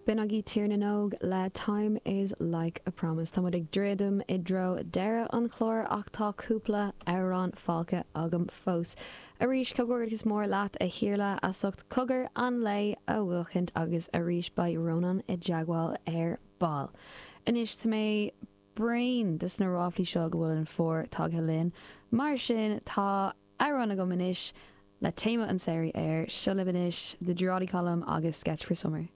B'in agaibh Tír na nÓg le Time is Like a Promise. Tá muid ag druidim i dtreo deireadh an chláir ach tá cúpla amhrán fágtha agam fós. Arís, comhghairdeas mór leat a Iarla as ucht Cogar an Lae a bhuachaint agus arís beidh Rónán i dteagmháil ar ball. Anois tá mé bréan des na ráflaí seo go bhfuil an fómhar tagtha linn, mar sin tá amhrán agam anois le téama an tsamhraidh air. Seo libh anois The Jordy Column agus Sketch for Summer.